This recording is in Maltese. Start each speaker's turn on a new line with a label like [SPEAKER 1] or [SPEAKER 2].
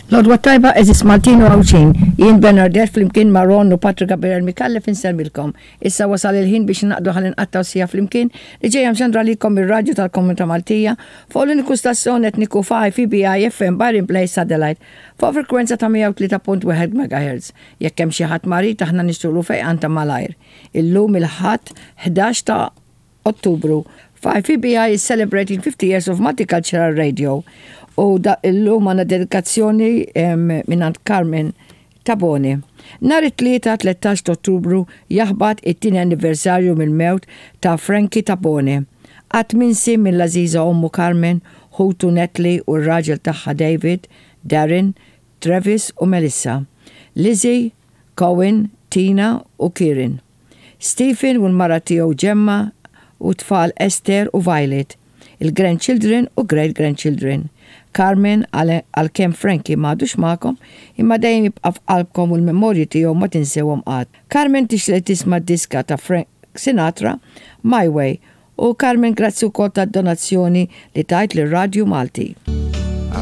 [SPEAKER 1] L-għodwa t-tajba għeżież Maltin u Għawdxin. Jien Bernardette flimkien ma' Ron u Patrick Gabriel Micallef insellmilkom. Issa wasal il-ħin biex ningħaqdu ħalli nqattgħu siegħa flimkien li ġejja mxandra għalikom mir-radju tal-Komunità Maltija fuq l-uniku stazzjon etniku f'IFBI FM Byron Place Satellite fuq frekwenza ta' 103.1 MHz. Jekk hemm xi ħadd marid aħna nixtieqlu fejqan ta' malajr. Illum il-Ħadd 11 ta' Ottubru, 5EBI is celebrating 50 years of multicultural radio u da illum għandna dedikazzjoni mingħand Carmen Tabone. Nhar it-Tlieta 13 ta' Ottubru jaħbat it-tieni anniversarju mill-mewt ta' Frankie Tabone. Qatt minsi mill-għażiża ommu Carmen, ħutu Natalie u r-raġel tagħha David, Darren, Travis u Melissa, Lizzie, Cohen, Tina u Kieran. Stephen u l-mara tiegħu Gemma u t-tfal Esther u Violet, il-grandchildren u great grandchildren. Carmen, għalkemm Frankie m'għadux magħkom, imma dejjem jibqa' f'qalbkom u l-memorji tiegħu ma tinsewhom qatt. Carmen tixtieq li tisma' d-diska ta' Frank Sinatra, My Way, u Carmen grazzi wkoll tad-donazzjoni li tajt lir-Radju Malti.